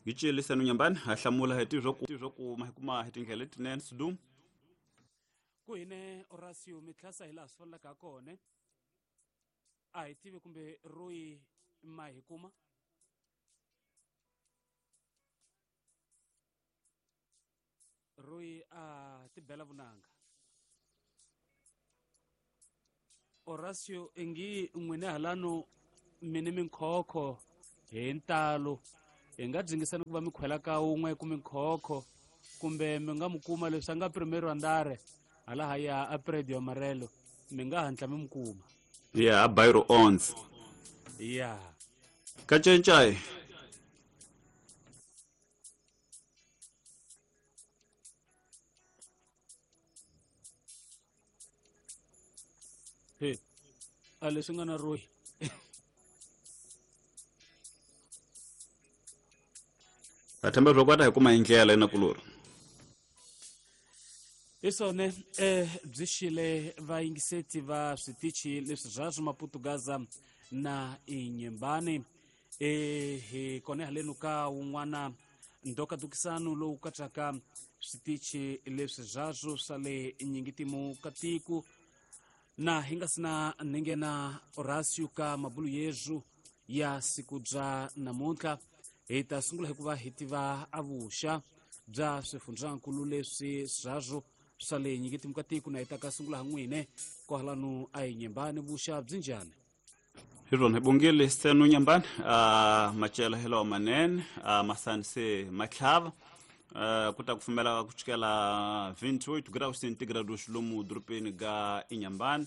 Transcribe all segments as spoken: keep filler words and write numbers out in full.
Gicele Senu Nyambani ha hlamula hi tivyo ku tivyo ku ma kuma hi tindlela letinene Sidum. Ku hine Horacio mitlhasa hi laha swi fanelaka ha kona. A hi tivi kumbe Roy ma hi kuma. Roy a tibela vunanga. Horacio ingi n'wina halano mini minkhokho hi ntalo hi nga dzingisani ku va mi khwela ka wun'we ku minkhokho kumbe mi nga mu kuma leswi a nga primero andare hala haya a Predio Amarelo mi nga hatla mi mu kuma. Yeah, a Bairro onze. Yeah. Ka Cencai. He. A leswi nga na Roy. Va themba leswaku va ta hi kuma hi ndlela inakulori. Hi swona eh byi xile vayingiseti va switichi leswi swa Maputo Gaza na Inhambane eh hi kona haleno ka wun'wana ndokadukisano lowu katsaka switichi leswi zwazwo swa le nyingitimu ka tiko na hi nga sina ninghena Horacio ka mabulu yezu ya siku bya namuntlha hi ta sungula hi ku va hi tiva avuxa bya swifundzankulu leswi swazwo swa le nyingitimu ka tiko na hi ta ka sungula ha n'wine kwalano a Inhambane vuxa byi njhani? Hi rona hi bongile Senu Nyambani a macela hi lawa manene a masani se matlhava ku ta kufumela ku chukela vinte e oito graus centígrados lomu dorobeni ga Inhambane.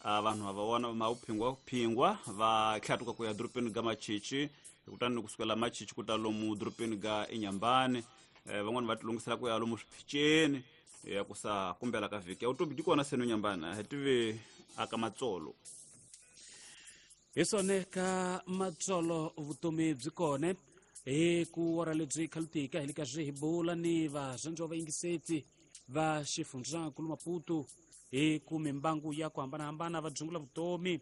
Vanhu va vona ma uphingwa phingwa va tlhatuka ku ya dorobeni ga Machichi kutani kusukela Machichi ku ta lomu dorobeni ga Inhambane. Van'wani va tilungisela ku ya lomu swiphicheni ya ku sa kumbela ka vhiki ya vutomi byi kona Senu Nyambani hi tive aka matsolo. Hi swona ka matsolo vutomi byi kona hi ku wara lebyi khalutika hi le ka swi hi bula ni varhandziwa vayingiseti va xifundzankulu Maputo hi ku mimbangu ya ku hambanahambana va dzungula vutomi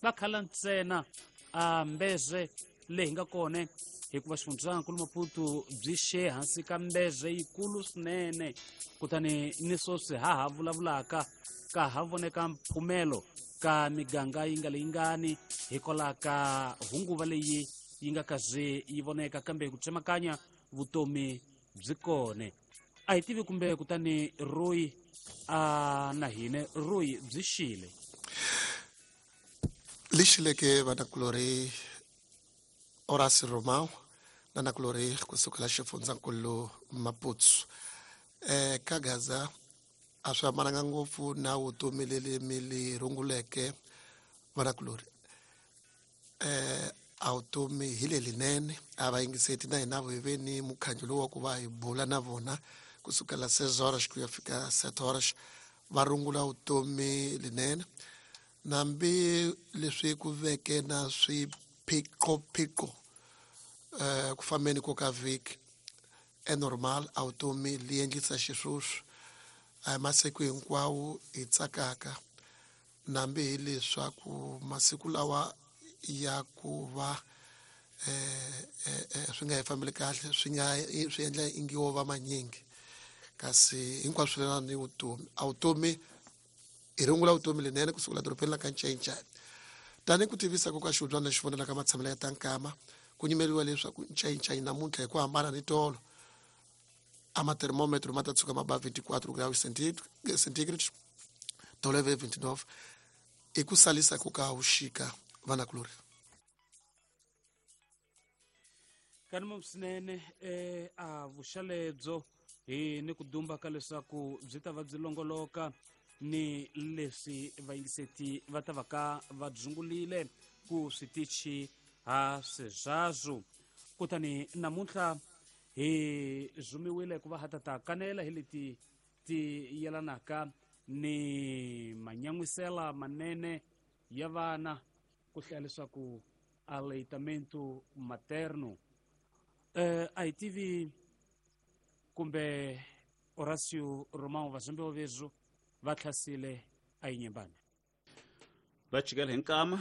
va khala ntsena a mbeze leyi hi nga kona hikuva xifundzankulu Maputo byi xe hansi ka mbeze yikulu swinene kutani ni swoswi ha ha vulavulaka ka ha voneka mphumelo ka miganga yi nga leyingani hikwalaho ka hunguva leyi yi nga kaze yi voneka kambe ku tsemakanya vutomi byi kona. A hi tivi kumbe kutani Roy a na hine Roy byi xile lexileke vanakulori Horacio Romao na nakulori kusukela xifundzankulu Maputo eh ka Gaza a swi hambananga ngopfu na vutomi leli mi li runguleke vanakulori eh a vutomi hi lelinene a va yingiseti na hina hi ve ni mukhanyo lowu wa ku va hi bula na vona kusukela seis horas ku ya fika sete horas va rungula vutomi linene nambi leswi ku veke na swiphiqophiqo eh ku fambeni ko ka vhiki e normal a vutomi li endlisa xisweswo a hi masiku hinkwawo hi tsakaka nambi hileswaku masiku lawa ya ku va eh eh swi nga hi fambeli kahle swi nga swi endla ingi wo va manyingi kasi hinkwaswo swi lelana ni vutomi a vutomi hi rungula vutomi lenene kusukela dorobeni la ka Ncencane tanihi ku tivisa ku ka xihubyana lexi vonelaka matshamelo ya tankama ku nyimeriwa leswaku Ncencane namuntlha hi ku hambana ni tolo a ma-thermometer ma ta tshuka ma ba vinte e quatro graus centígrados tolo ve vinte e nove i ku salisa ku ka vuxika vanakulori. Kanimo swinene eh a vuxalebyo hi ni ku dumba ka leswaku byi ta va byi longoloka ni leswi vayingiseti va ta va ka va dzungulile ku switichi ha swizwazo. Kutani namuntlha hi zumiwile ku va ha ta ta kanela hi leti ti yelanaka ni manyan'wisela manene ya vana ku hlaya leswaku aleitamento materno. Eh a hi tivi kumbe Horacio Romao vazambiwa vezu va tlhasile a Inhambane va chikela hi nkama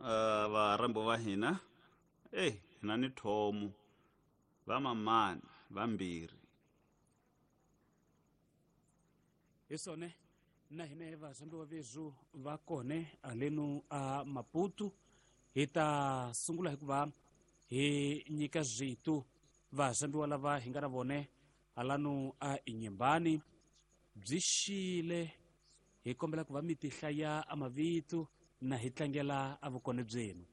uh, varhambo va hina eh hina ni thomo Vamamani vambirhi. Hi swona na hina vazambiwa vezu va kone alenu a Maputo hi ta sungula hikuva hi nyika zwitu vazambiwa lava hi nga na vone halanu a Inhambane byi xile hi kombela ku va mi tihlaya a mavito na hi tlangela a vukone byenu.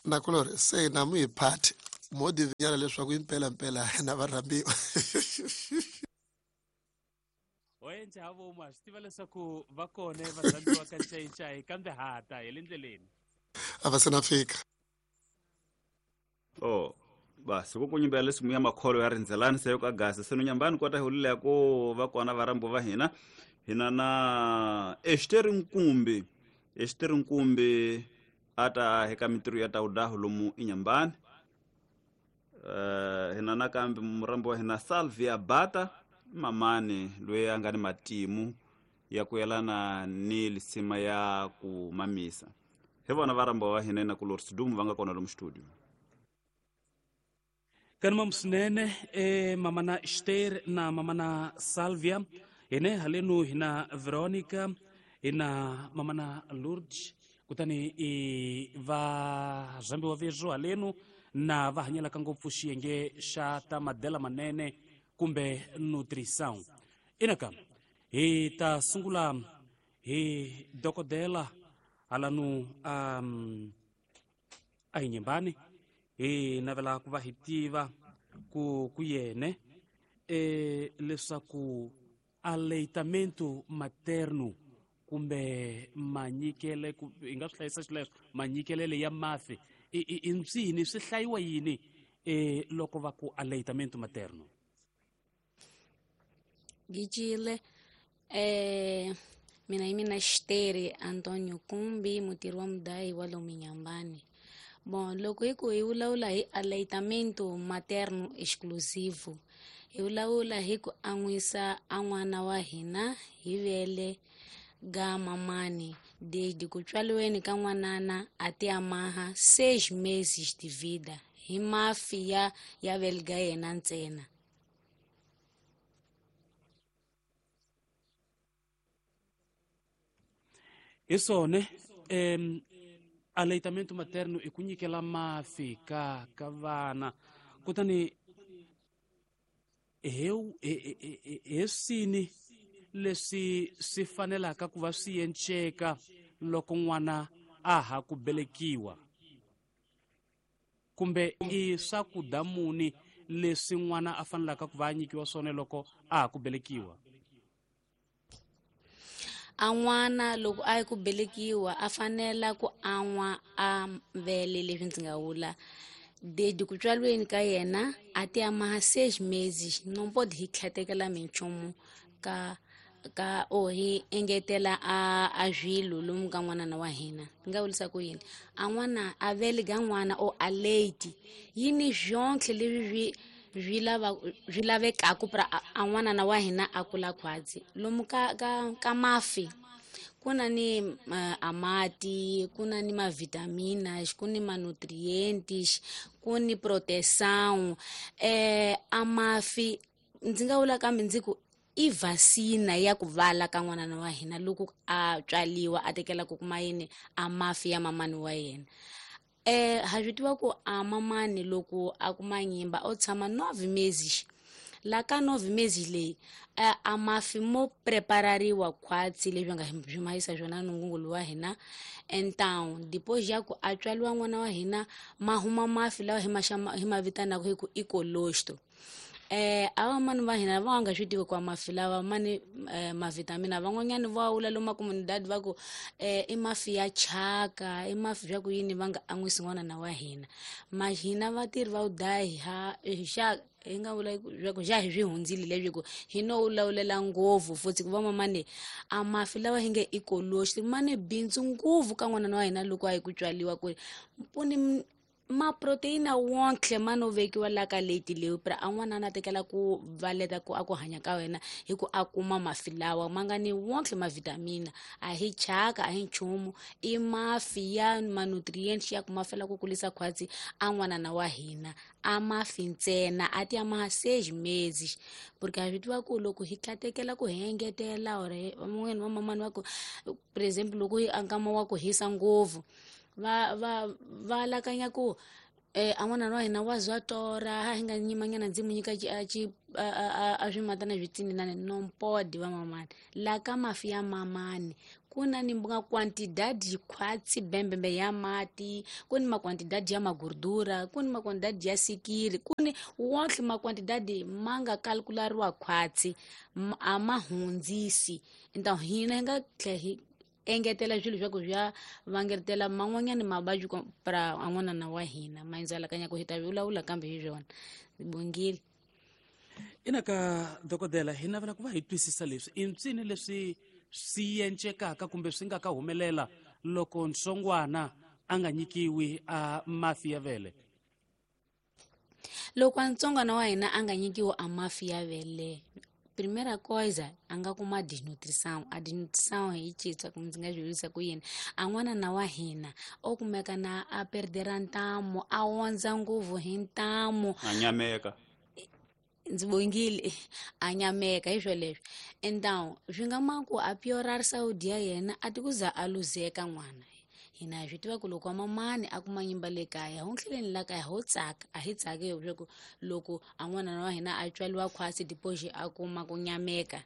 Nakulori se na mu hi phati mo divinyana leswaku impela mpela na varhambiwa. Oenja havo ma swi tiva leswaku va kone varhambiwa ka ncayincayi kambe hata hi le ndleleni a va se na fika. Oh basi ku kunyimbela leswi muya makholo ya rindzelani se yo ka gasi se Inhambane kota hi ulile ku va kona varambo va hina hina na Esther Nkumbi. Esther Nkumbi ata heka mitirho ya tawudahu lomu Inhambane. Uh, hina nakambe murambo wa hina Salvia Bata mamani loyi a nga ni matimu ya ku yelana ni lisima ya ku mamisa. Hi vona varambo wa hina na ku Lord Sidumo va nga kona lomu studio. Kanuma msinene e mamana Esther na mamana Salvia ene halenu hina Veronica hina mamana Lourdes kutani i va zambiwa vezu halenu na va hanyelaka ngopfu xiyenge xa ta madela manene kumbe nutrição. Inaka hi ta sungula hi dokodela halanu um, a Inhambane hi navela ku va hi tiva ku ku yene e leswaku aleitamento materno kumbe manyikele ku hi nga swi hlayisa xileswo manyikelele ya mafi i ncini swi hlayiwa yini e loko va ku aleitamento materno? Gijile eh mina hi mina Esther Antonio Kumbi mutirhi wa mudayi wa lomu Inhambane. Bom, loko hi ku hi vulavula hi aleitamento materno exclusivo hi vulavula hi ku an'wisa a n'wana wa hina hi vele ga mamani desde ku tswaliweni ka n'wanana a ti amaha seis meses de vida hi mafi ya ya vele ga yena ntsena. Hi swona em aleitamento materno i ku nyikela mafi ka ka vana kutani heu he swini leswi swi fanelaka ku va swi enceka loko n'wana a ha ku belekiwa kumbe i swakudya muni leswi n'wana a fanelaka ku va a nyikiwa swona loko a ha ku belekiwa? A n'wana loko a yi ku belekiwa a fanela ku an'wa a vele leswi ndzi nga vula desde ku tswaliweni ka yena a ti amaha seis meses no pode hi tlhatekela minchumu ka ka o hi engetela a a swilo lomu ka n'wanana wa hina. Ni nga vulisa ku yini a n'wana a vele ga n'wana o a late yini swonke leswi swi swi lava swi lavekaku pra a n'wanana wa hina a kula khwatsi lomu ka ka ka mafi ku na ni uh, amati ku na ni mavitaminas ku ni manutrientes ku ni proteção eh a mafi ndzi nga vula kambe ndzi ku i vasina ya ku vala ka n'wanana wa hina loko a tswaliwa a tekela ku kuma yini a mafi ya mamani wa yena. Eh ha swi tiva ku a mamani loko a kuma nyimba o tshama nove meses la ka nove meses leyi a mafi mo preparariwa khwatsi leswi nga swi mahisa swona nungungulu wa hina. Então depois ya ku a tswaliwa n'wana wa hina ma huma mafi lawa hi ma hi ma vitanaka hi ku i colostrum. Eh ava mani va hina va nga swi tivi kwa mafi lava mani eh, mavitamina van'wanyani va wula lomu comunidade va ku eh, i mafi ya chaka i mafi swa ku yini va nga an'wisi n'wanana wa hina. Ma hina vatirhi va vudahi ha xa hi nga vula swa ku xa hi swi hundzile leswi ku hi no wulawulela ngopfu futhi ku va mamani a mafi lawa hi nge i colostrum mani bindzu ngopfu ka n'wanana wa hina loko a yi ku tswaliwa ku ri mpuni Ma proteína wonke ma no vekiwa la ka leti leyi pra a n'wana na tekela ku valeta ku a ku hanya ka wena hi ku a kuma mafi lawa ma nga ni wonke ma vitamina. A hi chaka, a hi nchumu, i mafi ya ma-nutrients ya ku ma fela ku kulisa khwatsi a n'wanana wa hina. A mafi ntsena a ti ya ma seis meses, porque a swi tiva ku loko hi tlatekela ku hi engetela or van'wanyana va mamani va ku, por exemple, loko hi nkama wa ku hisa ngopfu, va va va alakanya ku eh a n'wana wa hina wa zwa torha, a hi nga nyimanyana ndzi mu nyika a ci a a swimatana swi tsinelani. Non pode, va mamani. La ka mafi ya mamani ku na ni nga quantidade khwatsi bembembe ya mati, ku ni maquantidade ya magordura, ku ni maquantidade ya sikiri, ku ni wonke maquantidade ma nga calculariwa khwatsi, a ma hundzisi. Então hina hi nga tlhe hi engetela swilo swa ku swi ya vangetela man'wanyana mavabyi pra a n'wanana wa hina. Ma ndzi alakanya ku hi ta vulavula kambe hi swona bongile. Ina ka dokodela, hi navela ku va hi twisisa leswi i mpsini leswi swi encekaka kumbe swi nga ka humelela loko ntsongwana a nga nyikiwi a mafi ya vele. Loko a ntsongwana wa hina a nga nyikiwi a mafi ya vele, primeira coisa, a nga kuma desnutrição. A desnutrição hi citsa ku ndzi nga swi vurisa ku yini, a n'wanana wa hina o kumeka na a perdera ntamu, a ondza ngopfu hi ntamu. A nyameka. Ndzi bongile, a nyameka hi swoleswo. Então swi nga ma ku a piorar saúde ya yena, a ti ku za a luzeka n'wana. Hina hi swi tiva ku loko wa mamani a kuma nyimba le kaya, ho tlheleni la kaya ho tsaka, a hi tsaki leswaku loko a n'wana wa hina a tswaliwa khwatsi, depois a kuma ku nyameka.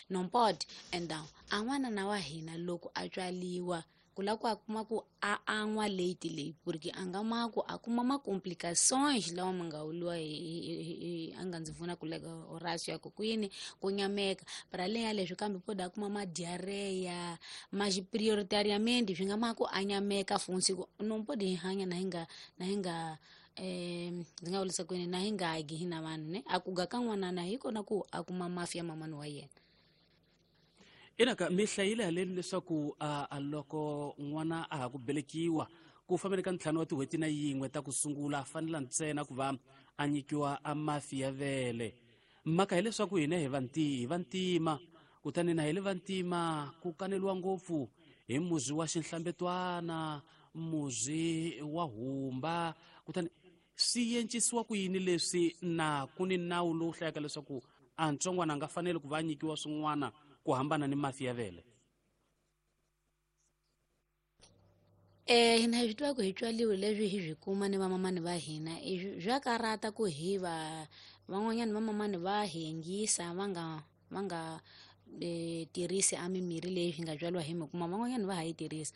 Non pode. Então a n'wanana wa hina loko a tswaliwa, ku la ku a kuma ku a an'wa late leyi, porque a nga ma ku a kuma ma-complicações lawa ma nga vuliwa hi a nga ndzi pfuna ku leka Horacio ya ku kwini ku nyameka para além ya leswi, kambe pode a kuma ma-diarreia. Mas prioritariamente swi nga ma ku a nyameka funtsi ku non pode hi hanya na hi nga na hi nga eh ndzi nga vulisa kwini na hi nga gi hina vanhu ne a ku ga ka n'wanana hi kona ku a kuma mafi ya mamani wa yena. Ina ka mi hlayile haleni leswaku a loko n'wana a ha ku velekiwa ku fambeni ka ntlhanu wa tin'hweti na yin'we ta ku sungula, a fanela ntsena ku va a nyikiwa a mafi ya vele. Mhaka hileswaku hina hi vanti hi vantima, kutani na hi le vantima ku kaneliwa ngopfu hi muzi wa xinhlambetwana, muzi wa humba, kutani swi encisiwa ku yini leswi na ku ni nawu lowu hlayaka leswaku a ntsongwana a nga faneli ku va a nyikiwa swin'wana ku hambana ni mafi ya vele? Eh hina hi swi tiva ku hi tswaliwe leswi hi swi kuma ni vamamani va hina, swa karata ku hi va van'wanyana vamamani va hi yingisa, va nga va nga eh tirhisi a mimirhi leyi hi nga tswaliwa hi mi kuma, van'wanyana va ha yi tirhisa.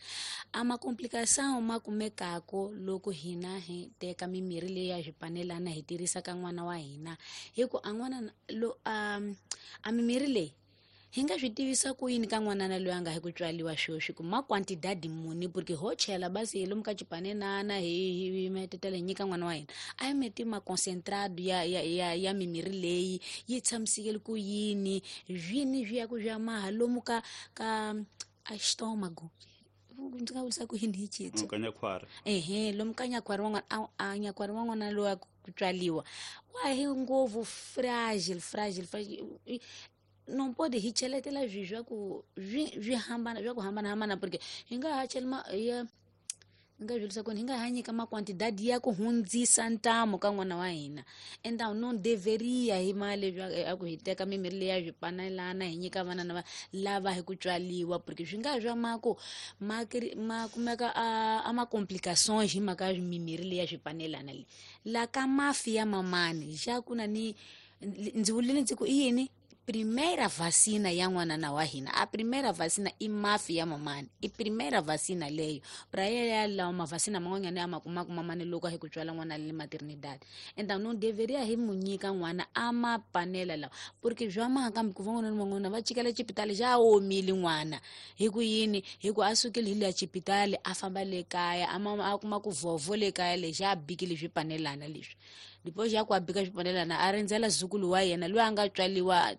A ma-complicação ma kumekako loko hina hi teka mimirhi leyi ya swipanelana hi tirhisa ka n'wana wa hina, hi ku a n'wana lo a a mimirhi leyi hi nga swi tivisa ku yini ka n'wanana loyi a nga hi ku tswaliwa sweswi ku ma quantidade muni, porque ho chela basi hi lomu ka xipanenana hi hi metetela hi nyika n'wana wa hina, a hi meti ma concentrado ya ya ya ya mimirhi leyi yi tshamisekele ku yini, swini swi ya ku swi ya maha lomu ka ka a estómago, ndzi nga vurisa ku yini hi xitsonga? Ka nyakhwari. Ehe, lomu ka nyakhwari wa n'wana, a nyakhwari wa n'wana loyi a ku tswaliwa wa hi ngopfu fragile fragile fragile. Non pode hi cheletela swi swa ku swi swi hambana swa ku hambanahambana, porque hi nga ha chela ma ya ni nga byerisa ku hi nga ha nyika maquantidade ya ku hundzisa ntamu ka n'wana wa hina. Então non deveria hi mali a ku hi teka mimirhi leyi ya swipanelana hi nyika vana na lava hi ku tswaliwa, porque swi nga swa mako ma ma kumeka a a ma-complicações hi mhaka ya mimirhi leyi ya swipanelana leyi. La ka mafi ya mamani xa ku na ni ndzi vulile ndzi ku i yini primeira vacina ya n'wanana wa hina, a primeira vacina i mafi ya mamani, i primeira vacina leyo pra ya lawa mavacina man'wanyana ya ma kumaka mamani loko a hi ku tswala n'wana le maternidade. Então non deveria hi mu nyika n'wana a ma panela lawa, porque swa maha kambe ku van'wana na van'wana va chikela xipitali xa omile n'wana hi ku yini, hi ku a sukile hi le xipitali a famba le kaya a ma a kuma ku vhovho le kaya lexi a bikile swipanelana leswi, depois ya ku a bika swipanelana a rindzela zukulu wa yena loyi a nga tswaliwa,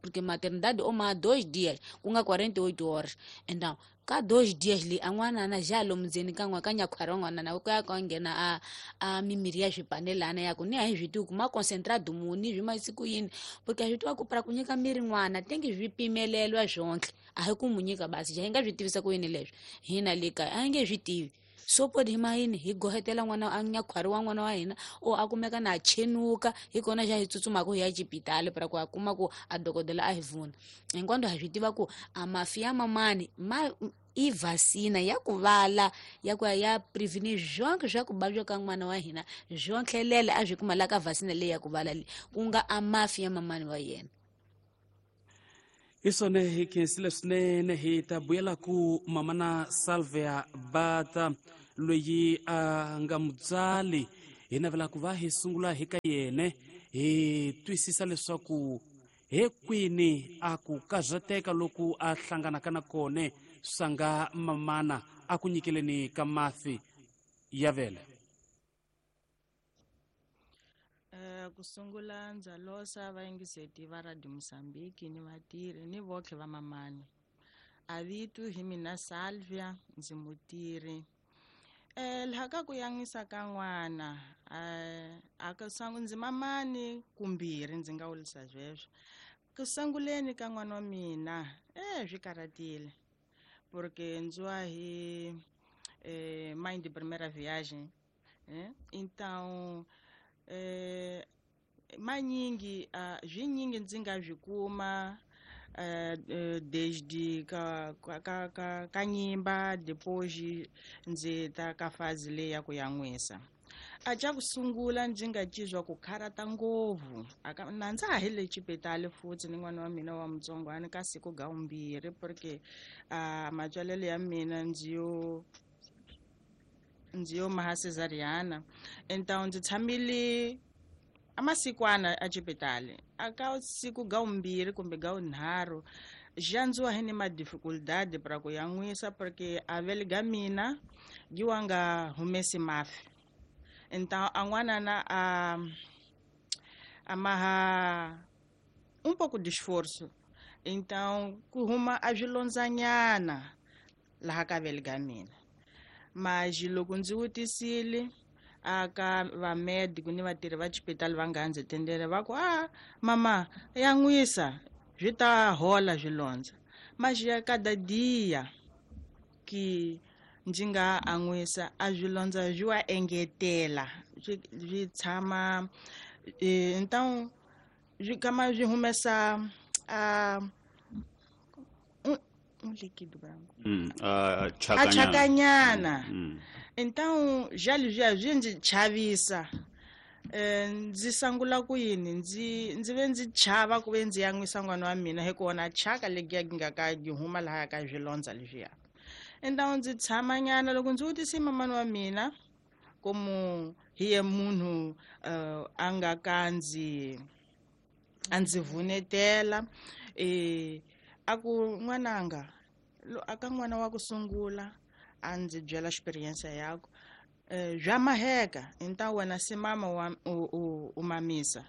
porque maternidade o ma dois dias ku nga quarenta e oito horas. Então Ka dois dias li a n'wanana ja lomu ndzeni ka n'wa ka nyakhwari wa n'wanana ku ya ka nghena a a mimiri ya swipanelana ya ku ni a hi swi tivi ku ma concentrado muni swi ma siku yini, porque a swi tiva ku para ku nyika miri n'wana tengi swi pimelelwa swonhle, a hi ku mu nyika basi ja hi nga swi tivisa ku yini leswi hina le kaya a hi nge swi tivi. So podi hi ma yini hi gohetela n'wana a nyakhwari wa n'wana wa hina o a kumeka na chenuka hi kona xa hi tsutsumaka hi ya xipitali para ku a kuma ku a dokodela a hi vuna. Hinkwando ha swi tiva ku a mafi ya mamani ma i vasina ya ku vala ya ku ya prevenir zonke swa ku vabya ka n'wana wa hina zontlhelele a swi kuma la ka vasina leyi ya ku vala leyi ku nga a mafi ya mamani wa yena. Hi swona hi khensile swinene hi ta vuyela ku mamana Salvia Bata loyi a nga mutswari hi navela ku va hi sungula hi ka yene hi twisisa leswaku he kwini a ku karhateka loku a hlanganaka na kone swa nga mamana a ku nyikeleni ka mafi ya vele. Ku sungula ndza losa vayingiseti va Radio Mozambique ni vatirhi ni votlhe va mamani. A vito hi mina Salvia ndzi mutirhi. Eh laha ka ku yan'wisa ka n'wana eh a ka sangu ndzi mamani kumbirhi ndzi nga wulisa sweswo. Ku sunguleni ka n'wana wa mina eh swi karhatile porque ndzi wa hi eh mãe de primeira viagem, eh então eh manyingi uh, zwinyingi ndzi nga swi kuma uh, desde ka ka ka ka nyimba depois ndzi ta ka fazi leyi ya ku yan'wisa. A xa ku sungula ndzi nga cizwa ku kharata ngopfu aka na ndza ha hi le xipitali futhi ni n'wana wa mina wa mutsongwana ka siku ga vumbirhi porque uh, matswalelo ya mina ndzi yo ndzi yo maha cesariana. Então ndzi tshamile amasikwana a xipitali aka siku ga vumbirhi kumbe ga vunharhu xa ndziwa hi ni ma dificuldade para ku yan'wisa porque a vele ga mina gi wa nga humesi mafi. Então a n'wanana a a maha um pouco de esforço, então ku huma a swilondzanyana laha ka vele ga mina. Mas loko ndzi vutisile aka vamédico ni vatirhi va xipitali va nga ndzi tendele va ku a mama yan'wisa swi ta hola swilondza. Mas ya cada dia que ndzi nga an'wisa a swilondza swi wa engetela swi swi tshama então swi kama swi humesa a um líquido branco. Mm, uh, a chakanyana. Mm. Então já já swi ndzi chavisa. Eh ndzi sangula ku yini ndzi ndzi ve ndzi chava ku ve ndzi yan'wisa n'wana wa mina hi ku wona chaka legiya gi nga ka gi huma laha ka swilondza leswiya. Então ndzi tshama nyana loko ndzi vutise mamani wa mina como hi ye munhu uh, a nga ka ndzi a ndzi vunetela eh a ku n'wananga aka n'wana wa ku sungula a ndzi byela experience yakwe eh bya maheka então wena se mama wa u, u mamisa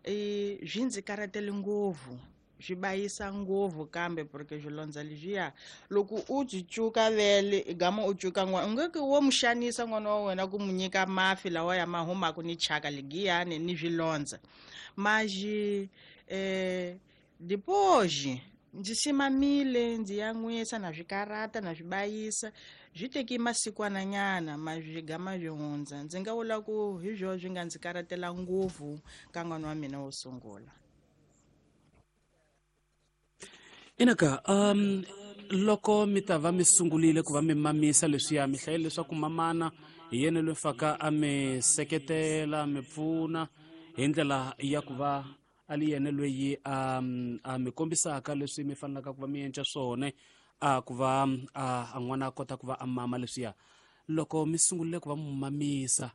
eh swi ndzi karhatele ngopfu swi bayisa ngopfu kambe porque swilondza leswiya loko u byi cuka vele gama u cuka n'wana u nge ku wo mu xanisa n'wana wa wena ku mu nyika mafi lawa ya ma humaka ni chaka legiyani ni swilondza. Mas eh depois ndzi simamile ndzi yan'wisa na swi karata na swi bayisa swi teki masikwana nyana ma swi gama swi hundza. Ndzi nga vula ku hi swo swi nga ndzi karatela ngopfu ka n'wana wa mina wo sungula. Inaka um loko mi ta va mi sungulile ku va mi mamisa leswiya mi hlayile leswaku mamana hi yena loyi faka a mi seketela mi pfuna hi ndlela ya ku va a li yena loyi a a mi kombisaka leswi mi fanelaka ku va mi endla swona a ku va a n'wana a kota ku va a mama leswiya. Loko mi sungulile ku va mu mamisa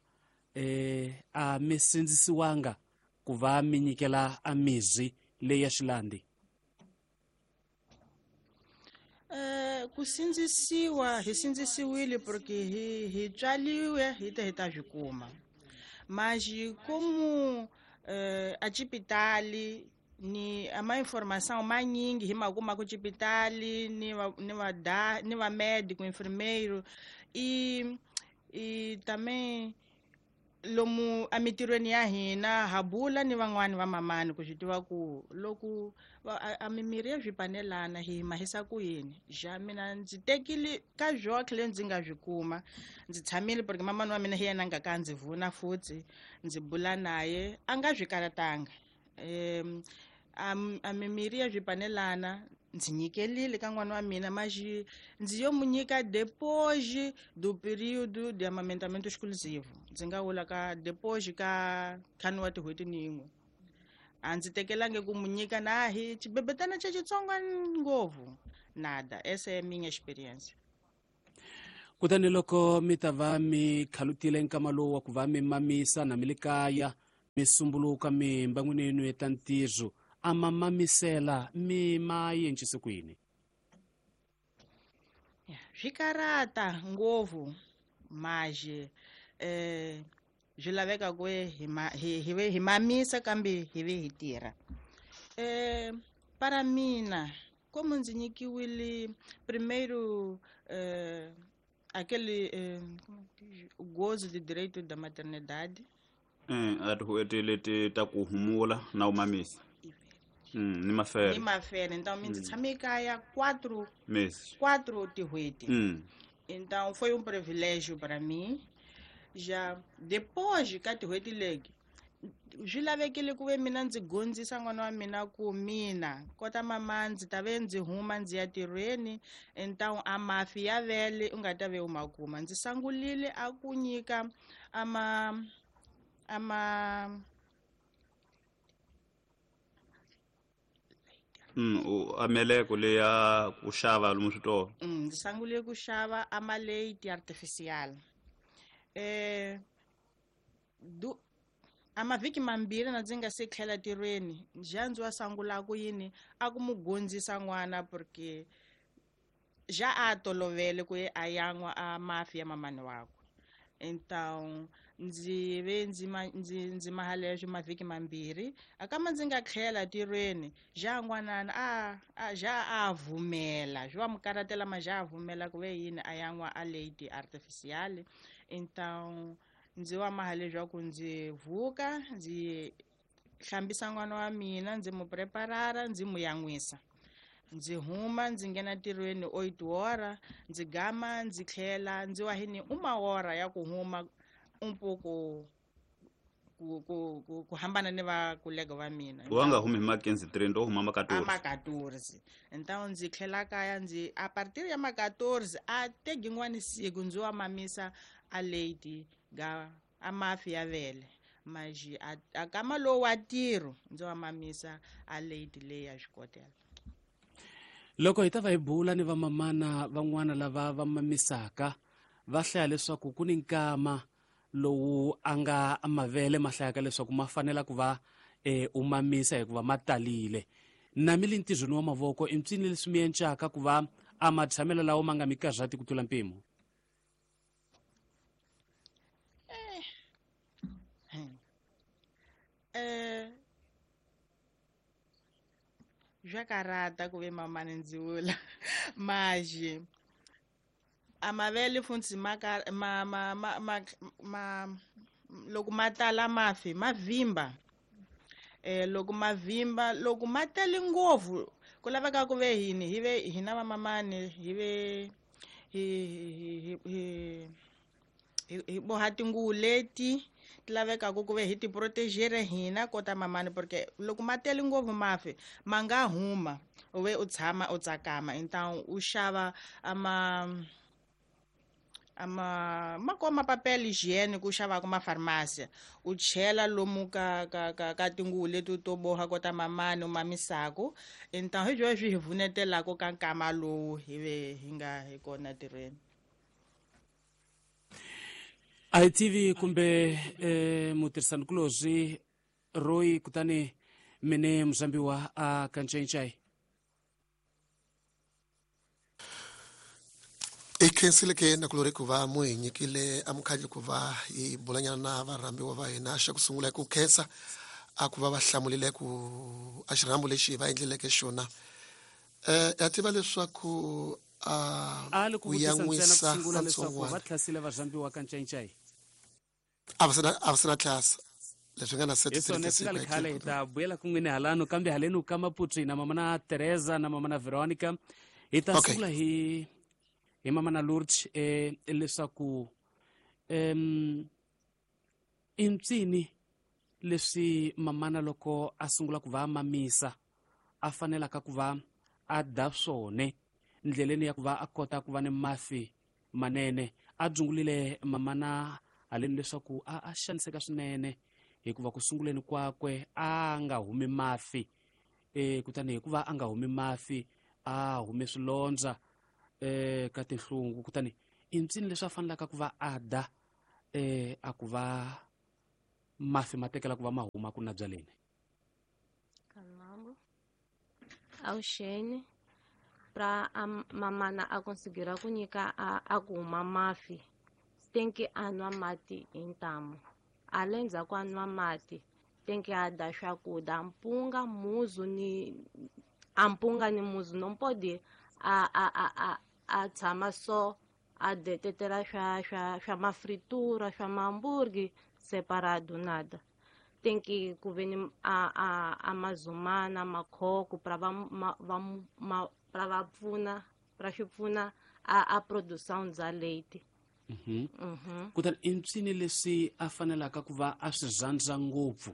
eh a mi sindzisiwanga ku va mi nyikela a mizi leyi ya xilandi? Eh ku sindzisiwa hi sindzisiwile porque hi hi tswaliwe hi ta hi ta swi kuma. Mas como eh a xipitali Ni ama informação manyingi hi makuma ku xipitali ni va ni va da ni va médico enfermeiro e e também lomu emitirhweni ya hina ha bula ni van'wani va mamani ku swi tiva ku loko a mimiri ya swipanelana hi mahisa ku yini. Ja mina ndzi tekile ka zwoke le ndzi nga swi kuma, ndzi tshamile porque mamani wa mina hi yena a nga ka ndzi vuna futhi ndzi bula naye a nga swi karatanga. Um a mimiri ya swipanelana ndzi nyikelile ka n'wana wa mina, mas ndzi yo mu nyika depois do período de amamentamento exclusivo. Ndzi nga vula ka depois ka ntlhanu wa tin'hweti ni yin'we. A ndzi tekelangi ku mu nyika na hi xibebetana xa xitsongo ngopfu, nada. Essa é minha experiência. Kutani loko mi ta va mi khalutile nkama lowu wa ku va mi mamisa na mi le kaya mi sumbuluka mi mbangwini yenu ya ntirho, a ma mamisela mi ma yencise ku yini? Swi karata ngopfu, mas eh swi laveka ku hi hi hi hi mamisa kambe hi ve hi tirha. Eh para mina como ndzi nyikiwile primeiro eh aquele eh, gozo de direito da maternidade. Eh a tin'hweti leti ta ku humula na u mamisa. Mm, ni mafere. Ni mafere. Então ndzi tshame kaya quatro meses. Quatro tin'hweti. Mm. Então foi um privilégio para mim. Já depois ka tin'hweti leti swi lavekile ku ve mina ndzi gondzisa n'wana wa mina ku mina kota mama ndzi ta ve ndzi huma ndzi ya tirhweni, então a mafi ya vele u nga ta ve u ma kuma. Ndzi sangulile a ku nyika ama ama Mm, u ameleko leya ku xava lomu switolo. Mm, ndzi sangule ku xava amaleiti artificial. Eh du a mavhiki mambirhi na ndzi nga se tlhela tirhweni, ja ndzi wa sangula ku yini a ku mu gondzisa n'wana porque ja a tolovele ku ye a yan'wa a mafi ya mamani wakwe. Então ndzi ve ndzi ndzi ndzi mahaleswo mavhiki mambirhi a kama ndzi nga tlhela tirhweni, ja n'wanana a a ja a vumela swi wa mu karatela ma ja a vumela ku ve yini a yan'wa a leiti artificial. Então ndzi wa mahaleswaku ndzi vuka ndzi hlambisa n'wana wa mina, ndzi mu preparara, ndzi mu yan'wisa, ndzi huma ndzi nghena ntirhweni oito hora, ndzi gama ndzi tlhela ndzi wa hini uma hora ya ku huma um pouco ku ku ku ku hambana ni va kolega va mina. Wa nga humi hi ma quinze trinta, u huma ma quatorze. A ma quatorze. Então ndzi tlhela kaya ndzi a partir ya ma quatorze a tegi n'wani siku ndzi wa mamisa a leiti ga a mafi ya vele, mas a, a kama lowu wa ntirho ndzi wa mamisa a leiti leyi ya xikotela. Loko hi ta va hi bula ni vamamana van'wana lava va mamisaka, va hlaya leswaku ku ni nkama lowu a nga mavele ma hlayaka leswaku ma fanela ku va eh, u mamisa hikuva ma talile. Na mi le ntirhweni wa mavoko i mpsini leswi mi encaka ku va a matshamelo lawa ma nga mi karhati ku tlula mpimo? Eh. Eh swa karata ku ve mamani ndzi vula, mas a mavele futhi ma ma ma ma ma, ma loko ma tala mafi ma vimba. Eh loko ma vimba loko ma tele ngopfu ku laveka ku ve hini hi ve hina va mamani hi ve hi hi hi hi boha tinguvu leti ti lavekaka ku ve hi ti protegere hina kota mamani, porque loko ma tele ngopfu mafi ma nga huma u ve u tshama u tsakama. Então u xava ama ama ma koma papel higiênico u xavaka mafarmasi u chela lomu ka ka ka ka tinguvu leti to boha kota mamani u mamisaka. Então hi byo swi hi vunetelaka ka nkama lowu hi ve hi nga hi kona tirhweni. A hi tivi kumbe eh, mutirhisanikulorhi Roy kutani mene muzambiwa a kancencai. I khensile ke nakulori ku va mu hi nyikile amukhaji ku va hi bulanyana na varhambiwa va hina. Xa ku sungula hi ku khensa a ku va va hlamulile ku a xirhambo lexi va endleleke xona. Eh ya tiva leswaku a a li ku ku vutisa ntsena ku yan'wisa sungula leswaku va ntsongwana tlhasile varhambiwa ka ncayincayi. A va sena a va sena tlhasa leswi nga na Hi swona swi nga li khale hi ta vuyela kun'wini halano, kambe haleni ka Maputo na mama na Teresa na mama na Veronica. Hi ta Okay. sungula hi hi mama na Lourdes eh leswaku em i mpsini leswi mamana loko a sungula ku va mamisa a fanelaka ku va a da swone ndleleni ya ku va a kota ku va ni mafi manene. A dzungulile mamana haleni leswaku a a xaniseka swinene hikuva ku sunguleni kwakwe a nga humi mafi, e kutani hikuva a nga humi mafi a hume swilondza e ka tinhlungu. Kutani i mpsini leswi a fanelaka ku va a da e a ku va mafi ma tekela ku va ma huma ku na byaleni. Kanambo avuxeni pra a mamana a consigira ku nyika a, a ku huma mafi tem que a nwa mati hi ntamu, a le ndzhaku a nwa mati tem que a da swakudya mpunga muzu ni a mpunga ni muzu não pode a a a a a tshama so a detetela swa swa swa mafritura swa mahamburgi separado nada. Tem que ku ve ni a a a mazumana makhoko pra va ma, va ma, pra va pfuna pra swi pfuna a a produção bya leite. Mhm. Mhm. Kutani i mpsini leswi a fanelaka ku va a swi rhandza ngopfu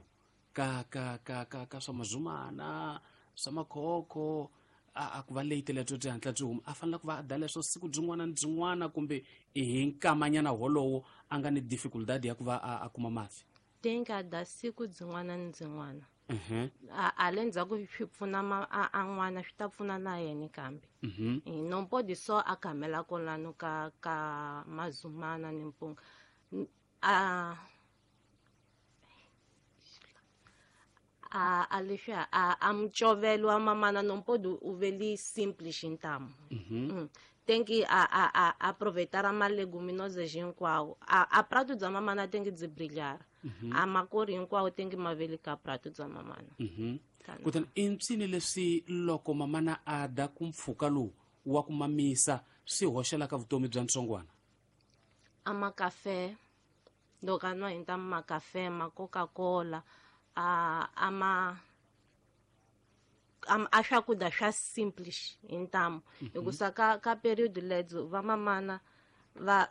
ka ka ka ka ka swa mazumana swa makhokho a a ku va leite lebyo byi hatla byi huma, a fanele ku va a da leswo siku byin'wana ni byin'wana kumbe i hi nkamanyana wolowo a nga ni difficultad ya ku va a, a kuma mafi? Tem que a da siku byin'wana ni byin'wana. Mhm. A a le ndzhaku swi pfuna ma, a, a n'wana swi ta pfuna na yena kambe. Mhm. E não pode só a camela kolano ka ka mazumana ni mpunga. N- A a a leswiya a a mucovelo wa mamana não pode u veli simples ntamu. Mhm. Mm. Tem que a a a aproveitar a maleguminosas hinkwawo. A a prato bya mamana tem que byi brilhar. A makori hinkwawo tem que ma veli ka prato bya mamana. Mhm. Kana. Kutani i mpsini leswi loko mamana a da ku mpfhuka lowu wa ku mamisa swi hoxelaka vutomi bya ntsongwana? A makafe loko a nwa hi ntamu makafe ma Coca-Cola a a ma a, a swakudya swa simples hi ntamu. Hikusa ka ka period lebyo va mamana va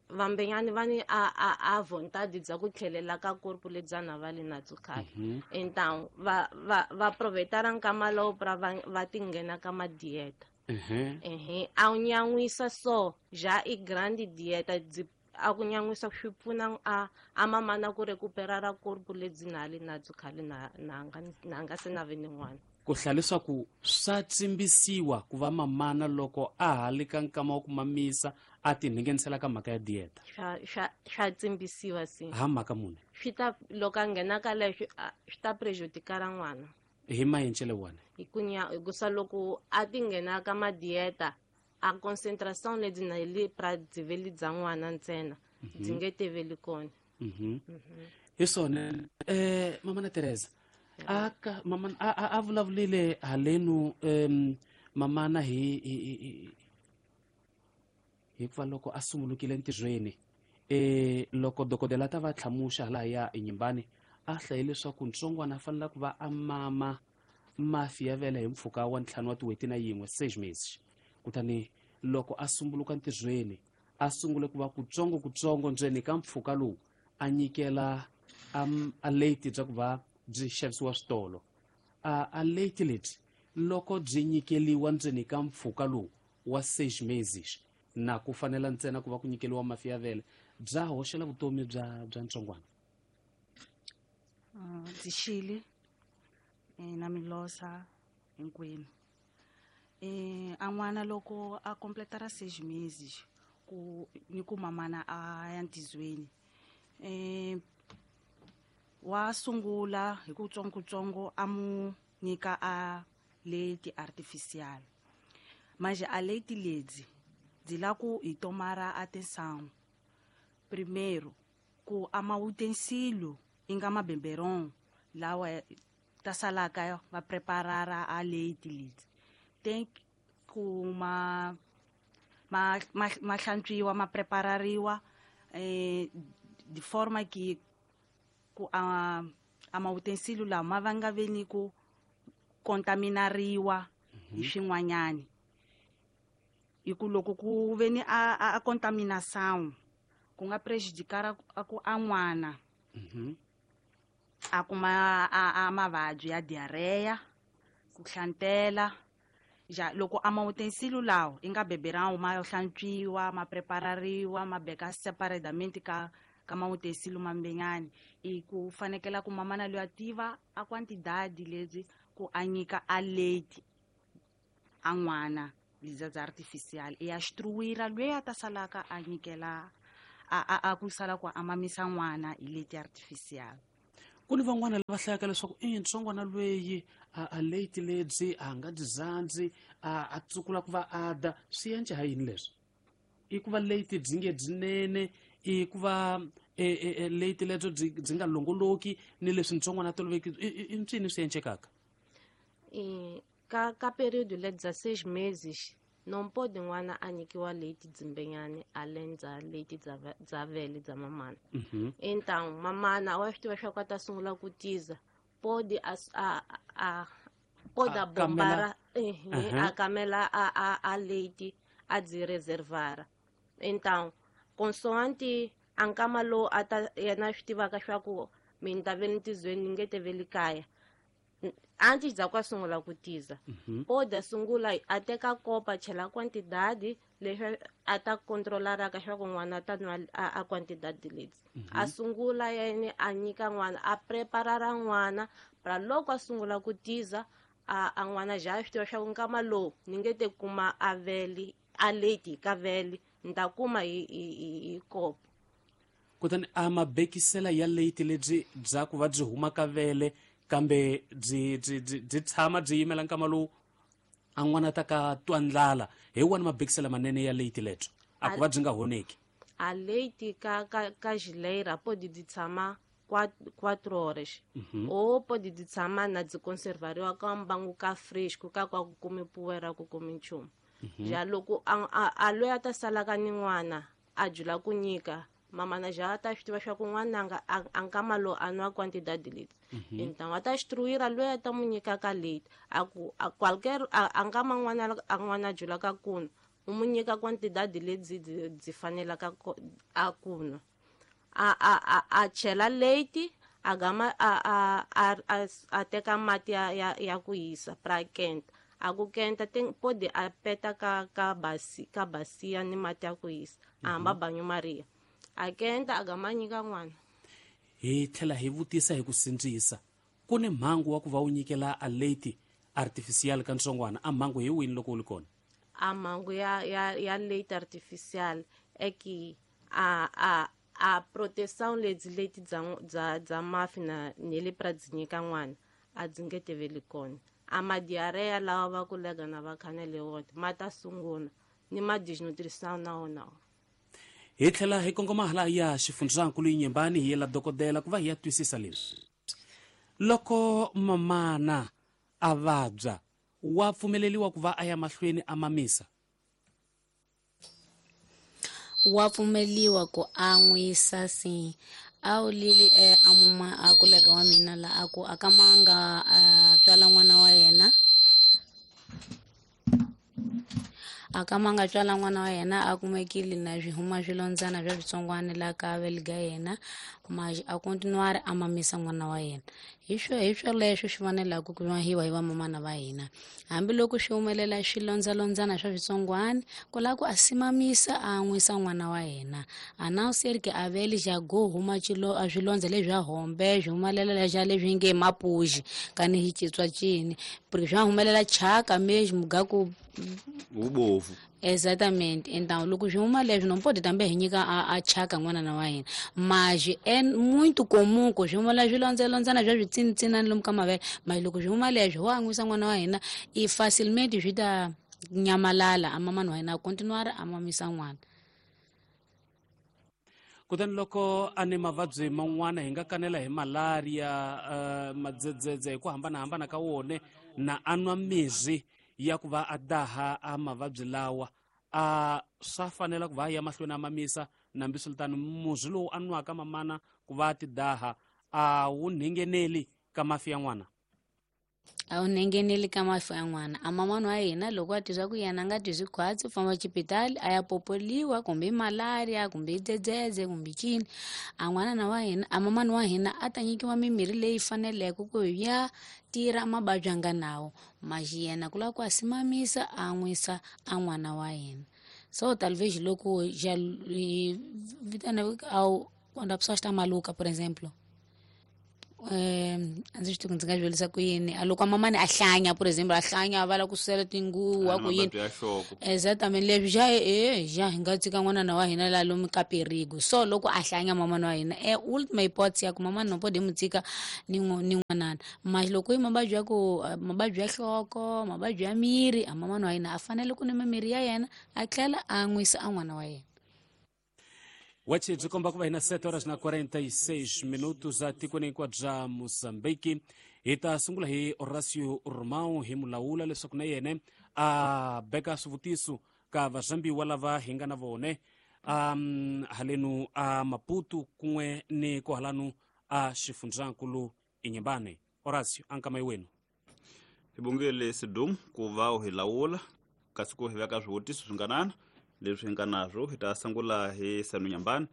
vambenyani va ni a a a vontade bya ku tlhelela ka corpo lebya na va le na byo khale. Então va va va aproveitar nkama lowu pra va va ti nghena ka ma dieta. Mhm. Ehe, a wu nyan'wisa so já i grande dieta byi a ku nyan'wisa swi pfuna a a mamana ku recuperar corpo lebyi na le na byo khale na na nga na nga se na ve ni n'wana. Ku hlaya leswaku swa tsimbisiwa ku va mamana loko a ha le ka nkama wa ku mamisa a tinghenisela ka mhaka ya dieta. Swa swa swa tsimbisiwa si. Ha mhaka mune? Swi ta loko a nghena ka leswi swi ta prejudicar n'wana. Hi mayencele wona. Hi ku nya hikusa loko a ti nghena ka ma dieta a concentration lebyi na le pra byi bya n'wana ntsena byi nge teveli kona. Mhm. Hi swona eh mama na Teresa a ka mama a a, a vulavulile halenu em mamana hi hi hi hikuva loko a sungulukile ntirhweni eh loko dokodela ta va tlhamuxa hala ya enyimbani a hlaye leswaku ntsongwana a fanele ku va a mama mafi ya vele hi mpfhuka wa ntlhanu wa tin'hweti na yin'we seis meses. Kutani loko a sunguluka ntirhweni a sungule ku va kutsongo kutsongo ndzeni ka mpfhuka lowu a nyikela a late bya ku va byi xavisiwa switolo. A a late leti loko byi nyikeliwa ndzeni ka mpfhuka lowu wa seis meses na ku fanela ntsena ku va ku nyikeliwa mafi ya vele bya hoxela vutomi bya bya ntsongwana. Ndzi xile na milosa hinkwenu. Eh a n'wana loko a completara seis meses ku ni ku mamana a ya ntizweni eh wa sungula hi ku tsongo a mu nyika a leti artificial. Manje a leti ledzi byi la ku hi tomara atenção. Primeiro ku ama utensílio inga mabeberon Lawa ta salaka va preparara a leite leti tem ku ma ma ma ma hlantswiwa ma preparariwa eh de forma que ku a a ma utensílio lawa ma va nga veni ku contaminariwa hi swin'wanyani hi ku loko ku veni a a contaminação ku nga prejudicar a ku a n'wana a kuma a a mavabyi ya diarrhea ku hlantela ja loko a ma utensílio lawa i nga beberão ma hlantswiwa ma preparariwa ma beka separadamente ka ka ma utensílio mambenyani i ku fanekela ku mamana loyi a tiva a quantidade lebyi ku a nyika a leite a n'wana leza bya artificial i ya instruira loyi a ta salaka a nyikela a a a ku sala ku a mamisa n'wana hi leite artificial. Ku ni van'wana lava hlayaka leswaku i ntsongwana lweyi a a leite lebyi a nga dyi zandzi a a tsukula ku va a da swi endla ha yini leswi i ku va leite byi nge byinene i ku va e leite lebyo byi byi nga longoloki ni leswi ntsongwana a toloveki i ncini swi endlekaka? E ka ka período le bya seis meses não pode n'wana a nyikiwa leite dzimbenyani além bya leite bya bya vele bya mamana. Então mamana wa swi tiva swa ku a ta sungula ku tiza pode a a a pode a bombara a kamela a a a leite a dzi reservara. Então consoante a nkama lowu a ta yena a swi tivaka swa ku mina ta ve ni tizweni ni nge te ve le kaya antes bya ku a sungula ku tiza pode a sungula a teka kopa chela quantidade leswi a ta controlaraka swa ku n'wana a ta nwa a quantidade leti a sungula yena a nyika n'wana a preparara n'wana pra loko a sungula ku tiza a a n'wana ja swi tiva swa ku nkama lowu ni nge te kuma a vele a leite ka vele ni ta kuma hi hi hi kopo. Kutani a mabekisela ya leite lebyi bya ku va byi huma ka vele kambe byi byi byi tshama byi yimela nkama lowu a n'wana ta ka twa ndlala hi wona mabekisela manene ya leite lebyo a ku va byi nga honeki. A leite ka ka ka geleira pode byi tshama quatro horas ou pode byi tshama na byi conservariwa ka mbangu ka fresco ka kwa ku kumi poeira ku kumi nchumu. Ja loko a a loyi a ta salaka ni n'wana a jula ku nyika mamana ja ta swi tiva swa ku n'wananga a nkama lowu a nwa quantidade leti então a ta instruira loyi a ta mu nyikaka leite a ku a qualquer a nkama n'wana a n'wana julaka kunwa u mu nyika quantidade lebyi byi fanelaka a kunwa a a a a chela leite a gama a a a a teka mati ya ya ya ku hisa pra kenta a ku kenta tem pode a peta ka ka basi ka basia ni mati ya ku hisa a hamba banho maria a kenta a gama nyika n'wana. Hi tlhela hi vutisa hi ku sindzisa ku ni mhangu wa ku va u nyikela a leite artificial ka ntsongwana a mhangu hi wini loko u li kona? A mhangu ya ya ya leite artificial é que a a a proteção lebyi leti bya bya bya mafi na ni le pra byi nyika n'wana a byi nge teveli kona. A ma diarrhea lawa va kulega na va khanele wona ma ta sungula ni ma desnutrição na wona. Hi tlhela hi kongoma hala ya xifundzankulu Yinyembani hi yela dokodela ku va hi ya twisisa leswi. Loko mamana a vabya wa pfumeleriwa ku va a ya mahlweni a mamisa? Wa pfumeliwa ku an'wisa si a wu lili e a muma a kulega wa mina la a ku a ka manga a tswala n'wana wa yena a ka manga tswala n'wana wa yena a kumekile na swi huma swilondzana swa switsongwana la ka veliga yena mas a continuar a mamisa n'wana wa yena. Hi swo hi swoleswo swi fanelaka ku hiwa hi vamamana va hina hambiloko swi humelela swilondzalondzana swa switsongwana ku lava ku a simamisa a an'wisa n'wana wa yena a não ser que a vele já go huma xilo a swilondza leswi swa hombe swi humelela lexa leswi nge mapuxi kani hi citswa cini porque swa humelela chaka mesmo ga ku ubovu. Exatamente. Então loko swi huma leswi não pode também hi nyika a, a chaka n'wana wa hina mas é muito comum ku swi humela swilondzalondzana swa switsinitsinani lomu ka mavele mas loko swi huma leswi ho an'wisa n'wana wa hina i facilmente swi ta nyamalala a mamani wa hina a continuar a mamisa n'wana. Kutani loko a ni mavabyi man'wana hi nga kanela hi malaria, uh, madzedzedze hi ku hambanahambana ka wone, na a nwa mirhi ya ku va a daha a mavabyi lawa, a swa fanela ku va a ya mahlweni a mamisa. Nambi swiritano murhi lowu a nwaka mamana ku va a ti daha a wu nhengeneli ka mafi ya n'wana? A wu nhengeneli ka mafi ya n'wana. A mamana wa hina loko a twi ku yena a nga twi swikhwatsi, u famba xipitali a ya popoliwa, kumbe i malaria, kumbe i dzedzedze, kumbe cini. A n'wanana wa hina, a mamana wa hina a ta nyikiwa mimirhi leyi faneleke ku ya tirha mavabyi a nga nawo, maxi yena ku lava ku a simamisa a nwisa a n'wana wa hina. So talvez loko já vitana ao quando a pessoa está maluca, por exemplo, eh a ndzi swi tivi ku ndzi nga swi vurisa ku yini. A loko mamani a hlanya, por exemplo, a hlanya a va lava ku susela tinguva ku yini, exactamente leswi xa e xa hi nga tshika n'wanana wa hina laha lomu ka perigo. So loko a hlanya mamani wa hina, e ultima hipótese ya ku mamani no pode mu tshika ni ni n'wanana. Mas loko i mavabyi ya ku mavabyi ya nhloko, mavabyi ya miri, a mamani wa hina a fanele ku nwa mimirhi ya yena a tlhela a nwisa a n'wana wa yena. Wachi byi komba ku va hina sete horas na quarenta e seis minutos a tikweni hinkwabyo bya Mozambique. Hi ta sungula hi Horacio Romão hi mulawula leswaku na yena a beka swivutiso ka vazambiwa lava hi nga na vone um halenu a Maputo kun'we ni kohalanu a xifundzankulu Inhambane. Horacio, ankama wenu. Hi bongele Sidum ku va u hi lawula kasi ku hi veka swivutiso swinganana leswi hi nga nazwo. Hi ta sungula hi Sanu Nyambani,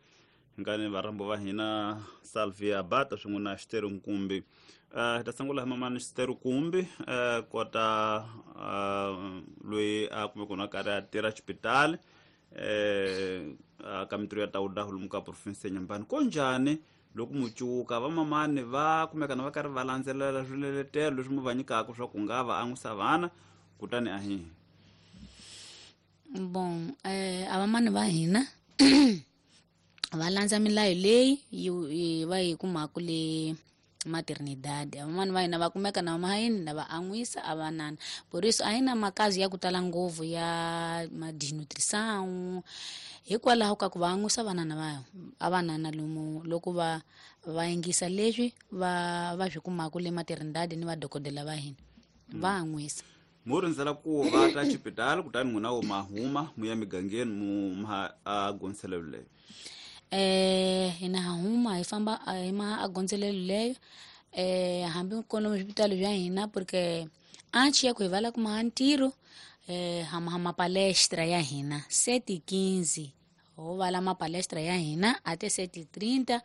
hi nga ni varhambo va hina Salvia Bata swin'we na Xiteru Nkumbi. Uh, hi ta sungula hi mamani Xiteru Nkumbi, uh, kota uh, loyi a kumeka na karhi a tirha xipitali eh ka mintirho ya tawuda lomu ka province ya Nyambani. Ko njhani loko mucuka va mamani va kumeka na va karhi va landzelela swiletelo leswi mu va nyikaka swa ku nga va an'wisa vana kutani a hi? Bom, eh, a vamani va hina va landza milayo leyi yi va yi kumaka le maternidade. A vamani va hina va kumeka na mahayini na va an'wisa a vanana. Por isso a hi na makazi ya ku tala ngopfu ya malnutrição, hikwalaho ka ku va an'wisa vanana va a vanana lomu loko va va yingisa leswi va va swi kumaka le maternidade ni vadokodela va hina va an'wisa. Mu rindzela ku va ta xipitali kutani n'wina wo ma huma mu ya migangeni mu ma a gondzelelo leyo? Eh hina ha huma hi famba hi ma a gondzelelo leyo, eh hambi kona swipitali bya hina, porque antes ya ku hi vala ku maha ntirho, eh ha ma mapalestra ya hina sete quinze ho vala mapalestra ya hina até sete trinta,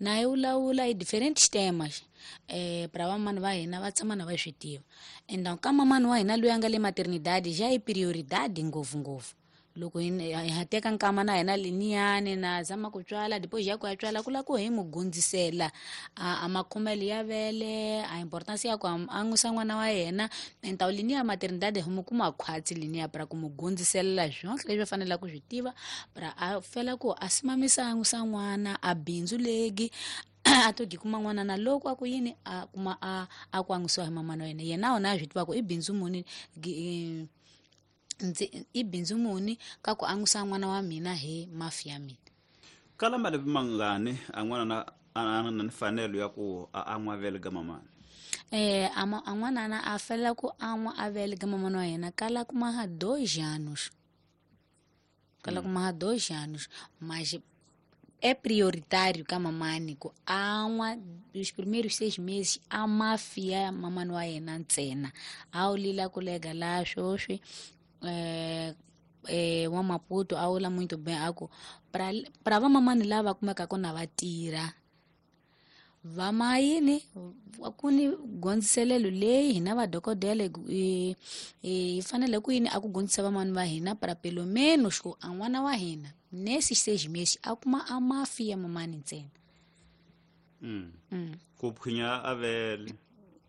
na hi vulavula hi diferentes temas eh para vamani va hina va tshama na va swi tiva. Então ka mamani wa hina loyi a nga le maternidade já i prioridade ngopfungopfu. Loko hi ha teka nkama na hina liniyani na zama ku tswala, depois ya ku ya tswala ku lava ku hi mu gundzisela a, a makhomelo ya vele, a importance ya ku a nwisa n'wana wa yena. Então liniya maternidade hi mu kuma khwatsi liniya para ku mu gundziselela swonke leswi a faneleke ku swi tiva, para a fela ku a simamisa a nwisa n'wana a bindzu legi a to gi kuma n'wana na loko a ku yini a kuma a a ku an'wisiwa hi mamana wa yena. Yena wona a swi tiva ku i bindzu muni ndzi i bindzu muni ka ku an'wisa n'wana wa mina hi mafi ya mina. Kala malembe mangani a n'wana na a na mfanelo ya ku a an'wa vele ga mamana? Eh a n'wana na a fela ku an'wa a vele ga mamana wa yena kala kuma ha dois anos. Kala kuma ha dois anos, mas é prioritário ka mamani ku an'wa os primeiros seis meses a mafia mamani wa yena ntsena. A wu lila ku lega la swoswi eh eh wa Maputo a wula muito bem a ku para para va mamani lava kumekaka na va tirha va mayini ku ni gondziselelo leyi hina vadokodela hi fanele ku yini a ku gondzisa vamani va hina para pelo menos ku a n'wana wa hina nesses seis meses a kuma a mafi ya mamani ntsena. Mm. Mm. Ku phwinya a vele.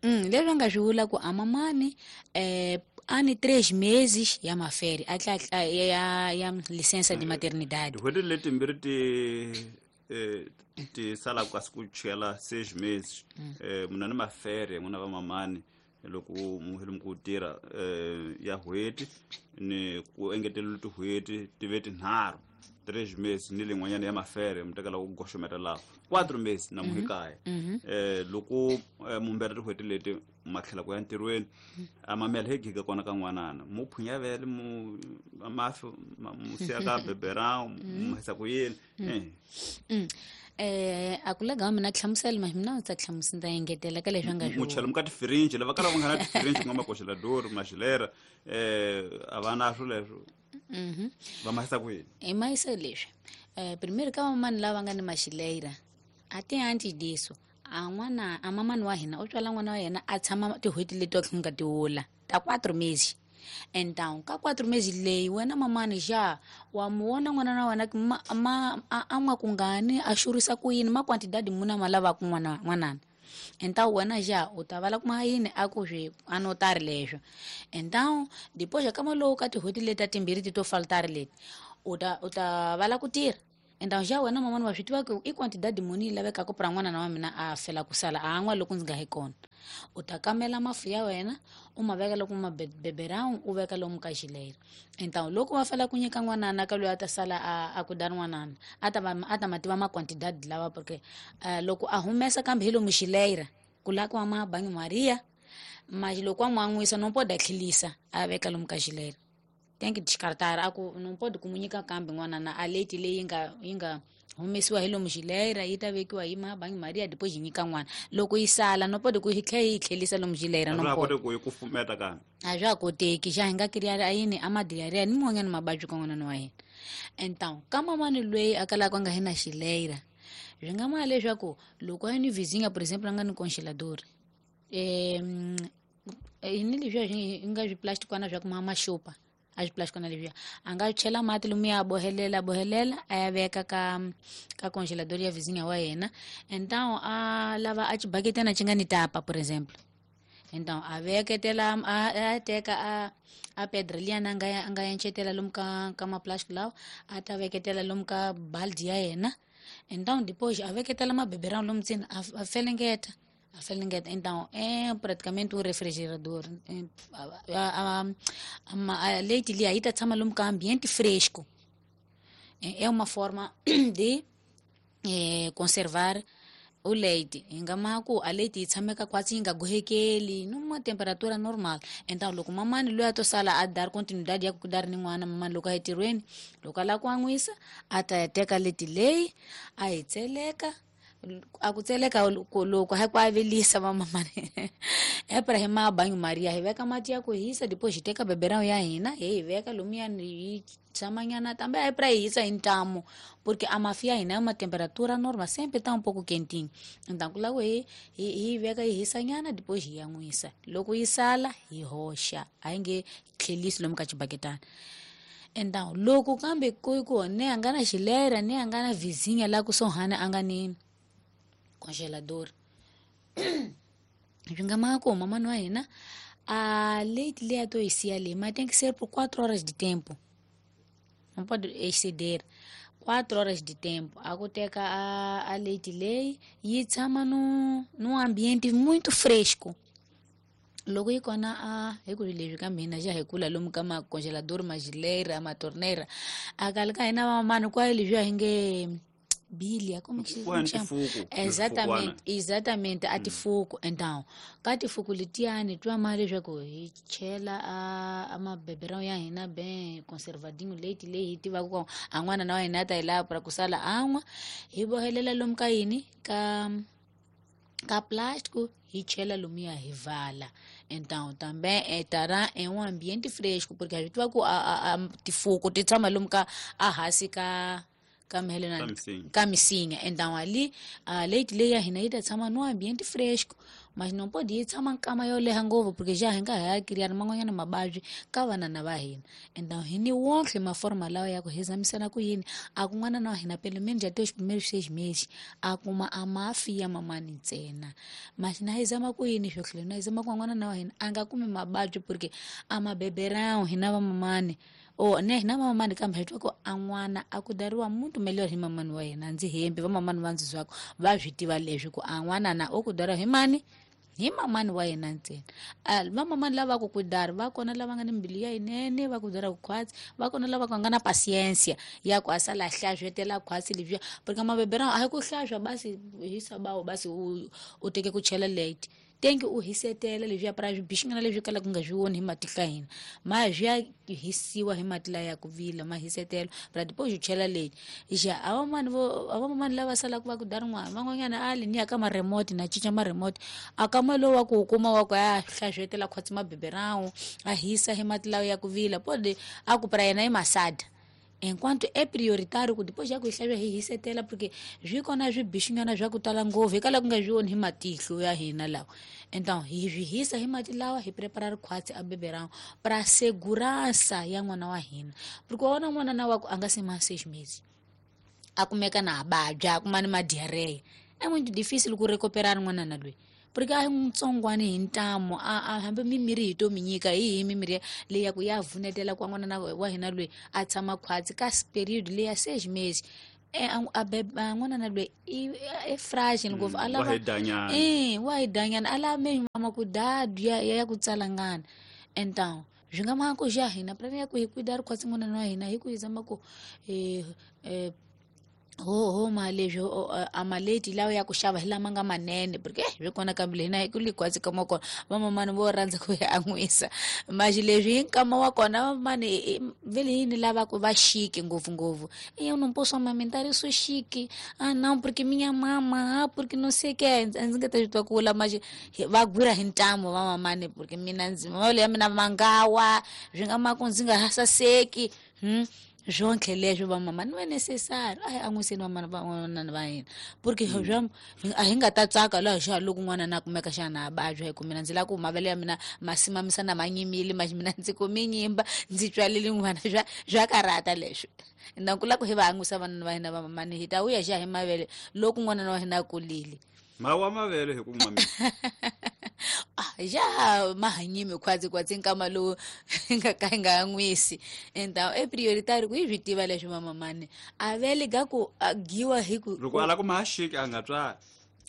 Mm, leswi nga swi vula ku a mamani eh ani três meses ya maferi a tla ya ya licença de maternidade. Tin'hweti letimbirhi ti eh ti sala kasi ku chela seis meses, eh muna ni mafere n'wina va mamani loko mu hele ku tirha eh ya n'hweti ni ku engetelela tin'hweti ti ve tinharhu três meses ni lin'wanyana ya mafere mi tekela ku goxometa laha quatro meses na muhikaya eh loko mumbere tin'hweti leti ma tlhela ku ya ntirhweni a mamela hi giga kona ka n'wanana mu phunya vele mu mafi mu siya ka beberão mu hisa ku yini eh eh a ku lega mina hlamusela ma mina ndzi ta hlamusela ndza engetela ka leswi nga swi muchela mu ka tifirinji lava kala va nga na tifirinji ku nga makoxelador maxilera eh a va na swo leswo mhm va mahisa ku yini i mahisa leswi eh primeiro ka mamani lava nga ni maxileira a ti antes disso a n'wana a mamani wa hina u tswala n'wana wa yena a tshama tin'hweti leti wa nga tiwula ta quatro meses então ka quatro meses leyi wena mamani xa wa mu vona n'wana na wena ma, ma a n'wa kungani a xurisa ku yini ma quantidade muna ma lavaka n'wana n'wanana então wena já u ta vala kuma yini a ku swi anotari leswo então depois ka malowu ka tin'hweti leti ta timbirhi ti to faltari leti u ta u ta vala ku tirha então já wena mamani wa swi tiva ku i quantidade muni yi lavekaka pra n'wana wa mina a fela ku sala a an'wa loko ndzi nga hi kona u ta kamela mafu ya wena u ma veka loko ma beberão u veka lomu ka xileira então loko va fela ku nyika n'wanana ka loyi a ta sala a a ku da n'wanana a ta va a ta ma tiva ma quantidade lawa porque uh, loko a humesa kambe hi lomu xileira ku la ku ma banho Maria mas loko a n'wan'wisa não pode tlhelisa a veka lomu ka xileira tem que descartar a ku não pode comunicar kambe n'wanana a leite leyi nga yi nga humesiwa hi lomu xileira yi ta vekiwa hi ma banho Maria depois yi nyika n'wana loko yi sala no pode ku yi tlhela yi tlhelisa lomu xileira no pode ku yi kufumeta kambe a swa koteki xa hi nga kiriari a yini a madiarrhea ni mun'wanyana mababyi ka n'wanana wa hina então ka mamani loyi a kalaka a nga hi na xileira swi nga ma leswaku loko a ni vizinha por exemplo a nga ni congelador eh ni leswiya swi nga swiplastikwana swa ku ma maxupa a swiplastikwana leswiya a nga chela mati lomu ya bohelela bohelela a ya veka ka ka congelador ya vizinha wa yena então a lava a xibaketana xi nga ni tapa por exemplo então a veketela a, a teka a a pedra liyana a nga a nga enchetela lomu ka ka maplastic lawa a ta veketela lomu ka baldi ya yena então depois a veketela mabeberão lomu ntsena a, a felengeta a felengeta então é praticamente um refrigerador é, a, a, a, a leite ali aí tá tshama lomu ka ambiente fresco é, é uma forma de é, conservar o leite hi nga ma ku a leite yi tshameka kwatsi yi nga gohekeli numa temperatura normal então loko mamani loyi a to sala a dar continuidade ya ku dar ni n'wana mamani loko a yi tirhweni loko a lava ku an'wisa a ta ya teka leti leyi a yi tseleka a ku tseleka loko ha ku avelisa vamamani epra hi ma banho Maria hi veka mati ya ku hisa depois hi teka beberão ya hina hi yi veka lomuyani yi tshamanyana também é para hisa hi ntamu porque a mafi ya hina é uma temperatura normal sempre tá um pouco quentinho então ku lava hi hi veka yi hisanyana depois hi yan'wisa loko yi sala hi hoxa a yi nge tlhelisi lomu ka xibaketana então loko kambe ku ku ne a nga na xilera ne a nga na vizinha la kusuhani a nga ni congelador swi nga ma ku mamani wa hina a leite leyi a to yi siya leyi ma tem que ser por quatro horas de tempo não pode exceder quatro horas de tempo a ku teka a, a leite leyi yi tshama no num ambiente muito fresco loko yi kona a hi ku leswi ka mina xa hi kula lomu ka macongelador maxileira matorneira a kale ka hina vamamani kwaye leswiya hi nge bilia como que se chama exatamente exatamente a tifuku então ka tifuku letiyani twa ma leswaku hi chela a a mabeberão ya hina bem conservadinho leite leyi hi tivaka ku a n'wana na wa hina a ta yi lava pra ku sala an'wa hi bohelela lomu ka yini ka ka plástico hi chela lomuya hi vala então também estará em um ambiente fresco porque a gente tiva ku a, a, a tifuku ti tshama lomu ka a hansi ka ka mhelena ka misinya então ali a leite leyi ya hina yi ta tshama no ambiente fresco mas não pode yi tshama nkama yo leha ngopfu porque já hi nga ha criar man'wanyana mavabyi ka vanana va hina então hi ni wonke maforma lawa ya ku hi zamisela ku yini a ku n'wana na wa hina pelo menos até os primeiros seis meses a kuma a mafi ya mamani ntsena mas na hi zama ku yini swo tlhela na hi zama ku n'wana na wa hina a nga kumi mavabyi porque a mabeberão hina va mamani o ne hina mamani kambe hi twa ku a n'wana a ku dariwa muntu melhor hi mamani wa yena ndzi hembi va mamani va ndzi zwako va swi tiva leswi ku a n'wana na o ku dariwa hi mani Hi mamani wa yena ntsena. Va mamani lava ku kudara va kona lava nga ni mbilu ya yinene va ku dara ku khwatsi, va kona lava nga na pasiensia ya ku a sala hlavetela khwatsi lebyiya, porque mabebera a hi ku hlahlwa basi hisa bawo basi u u teke ku chela late. Tenki u hisetela leswiya pra swibixingana leswi kalaka ku nga swi voni hi matihlo ya hina, ma swi ya hisiwa hi mati laya ya ku vila ma hisetela pra depois u chela late. Ja a vamani vo a vamani lava salaka va ku dara n'wana van'wanyana a li ni ya ka ma-remote na cinca ma-remote a ka ma lowu wa ku kuma wa ku a hlavetela khwatsi mabeberawu a hisa hi mati lawa ya ku vila pode a ku pra yena i masada. Enquanto é prioritário ku depois já ku hlave hi hisetela porque swi kona swibixingana swa ku tala ngopfu hi kala ku nga swi voni hi matihlo ya hina lawa. Então hi swi hisa hi mati lawa hi prepara rikhwatsi a beberang pra segurança ya n'wana wa hina, porque wa vona n'wana na wa ku a nga se ma seis meses a kumeka na vabya a kuma ni ma-diarrhea, é muito difícil ku recuperar n'wana na loyi porque a hi ntsongwani hi ntamu a a hambi mimirhi hi to mi nyika hi hi mimirhi leyi ya ku ya vunetela ku n'wana na wa hina loyi a tshama khwatsi ka period leyi ya seis meses e a beba n'wana na loyi i e fragile ngopfu a lava eh wa hi danyana a lava me mama ku dadu ya ya ku tsalangana. Então swi nga mhaka ku xa hina plan ya ku hi ku da rikhwatsi n'wana wa hina hi ku hi zama ku eh eh ho ho ma leswi a maleti lawa ya ku xava hi lama nga manene porque swi kona kambe hina hi ku likhwatsi ka kona vamamani vo rhandza ku ya an'wisa maxi leswi hi nkama wa kona vamamani vele yini lava ku va chique ngopfungopfu eu não posso amamentar eu sou chique ah não porque minha mama ah porque não sei que ndzi nga ta swi twa ku vula maxi va gwira hi ntamu vamamani porque mina ndzi mavele ya mina mangawa swi nga ma ku ndzi nga ha saseki hmm zonke leswi vamama ni va necessary a hi an'wiseni vamana van'wana va hina porque swa a hi nga ta tsaka laha xa loko n'wana na kumeka xana a vabya hi ku mina ndzi lava ku mavele ya mina ma simamisa na ma nyimile ma mina ndzi kumi nyimba ndzi tswalile n'wana swa swa karata leswi na ku lava ku hi va an'wisa vanana va hina vamamani hi ta vuya xa hi mavele loko n'wana wa hina a kulile mawa mavele hi ku mamisa ah ja mahanyimi khwatsi khwatsi nkama lowu nga ka nga an'wisi então é prioritário ku hi swi tiva leswi vamamani a vele ga ku giwa hi ku loko a lava ku ma xika a nga tswali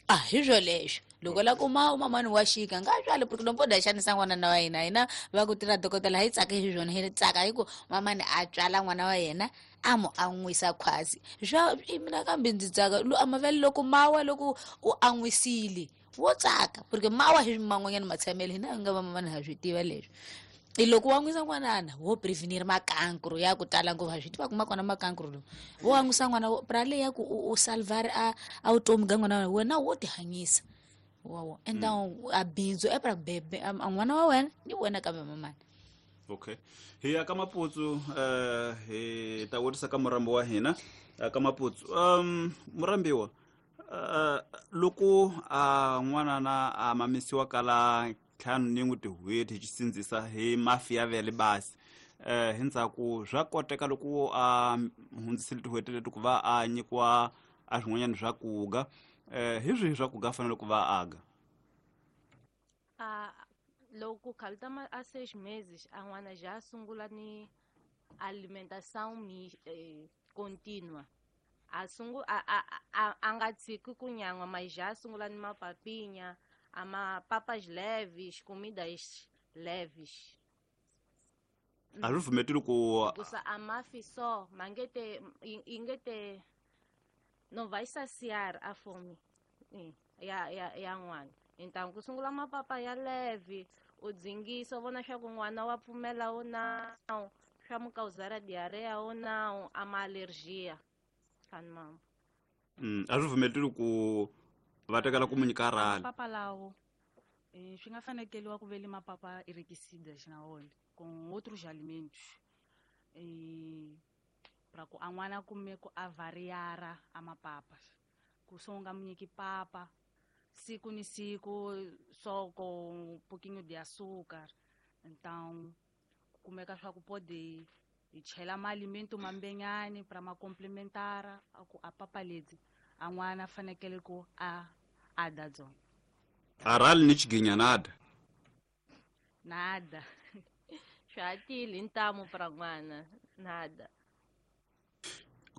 ah hi swo leswo loko la kuma mamani wa xika nga tswali porque no poda xanisa n'wana na wa hina hina va ku tirha dokodela hi tsaka hi swona hi tsaka hi ku mamani a tswala n'wana wa yena a mu an'wisa khwatsi swa mina kambe ndzi tsaka a mavele loko mawa loko u an'wisile wo tsaka porque mawa hi man'wanyana matshamele hina hi nga vamamani ha swi tiva leswi i loko wa an'wisa n'wanana wo prevenir makankru ya ku tala ngopfu ha swi tiva ku ma kona makankru lowu wo an'wisa n'wana pra leyi ya ku u salvar a a vutomi ga n'wana wa wena wo tihanyisa wawo então a bindzu e pra bebe a n'wana wa wena ni wena kambe mamani. Okay hi ya ka Maputsu eh hi ta vutisa ka murambi wa hina ka Maputsu um murambiwa uh loko a n'wana na a mamisiwa kala ntlhanu ni n'wi tin'hweti hi xisindzisa hi mafi ya vele basi eh hi ndzhaku swa koteka loko a hundzisile tin'hweti leti ku va a nyikiwa a swin'wanyana swa kuga eh hi swihi swa kuga fanele ku va aga a loko khalta ma a seis meses a n'wana já sungula ni alimentação eh, contínua a sungu a a a, a nga tshiki ku nyan'wa mas já sungula ni mapapinha a ma papas leves comidas leves a swi pfumeteli ku kusa a mafi só mangete ingete não vai saciar a fome ya ya ya n'wana. Então ku sungula mapapa ya leve u dzingisa u vona swa ku n'wana wa pfumela ou não swa mu causar diarreia ou não a ma alergia kan mama mm a swi pfumeteli ku va tekela ku mu nyika rhali mapapa lawo eh swi nga fanekeliwa ku vele mapapa enriquecidas na wona com outros alimentos eh para ku a n'wana kume ku a variara a mapapa ku so nga mu nyiki papa siku ni siku só com um pouquinho de açúcar. Então kumeka swa ku pode hi chela maalimento mambenyani para ma complementar a ku a papa leti a n'wana fanekele ku a a da dzona a rhali ni xiginya nada nada swa tile ntamu para n'wana nada.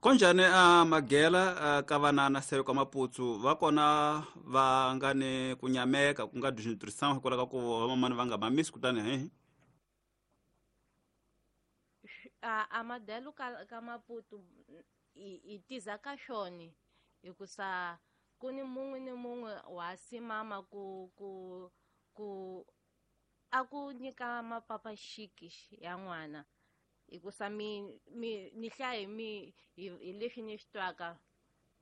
Konjani a magela ka vanana se ka Maputsu va kona va nga ni ku nyameka ku nga desnutrition hikwalaho ka ku vamamani va nga mamisi kutani he A a madelo ka ka Maputo i i tiza ka xoni hikusa ku ni mun'we ni mun'we wa simama ku ku ku a ku nyika mapapa xiki ya n'wana hikusa mi mi ni hlaya hi mi hi hi leswi ni swi twaka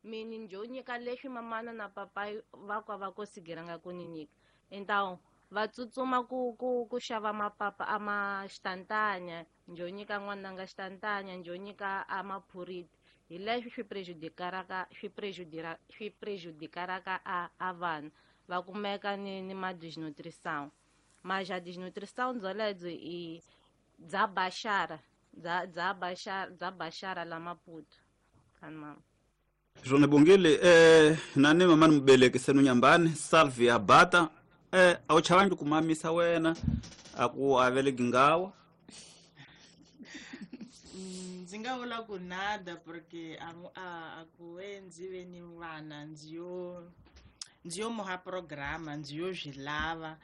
mi ni njo nyika leswi mamana na papa va kwa va kosigiranga ku ni nyika. Então va tsutsuma ku ku ku xava mapapa a ma xitantanya njo nyika n'wananga xitantanya njo nyika a maphuriti hi leswi swi prejudicaraka swi prejudira swi prejudicaraka a a vana va kumeka ni ni ma desnutrição. Mas a desnutrição byoledzo i bya baxara bya bya baxara bya baxara la Maputo kan mama. Swona bongile eh nani mama ni mubeleki senu nyambani Salvia Bata eh a wu chavangi ku mamisa wena a ku aveleki ngawa? Ndzi nga vula ku nada porque a a a ku ve ndzi ve ni vana ndzi yo ndzi yo muha programa ndzi yo swi lava.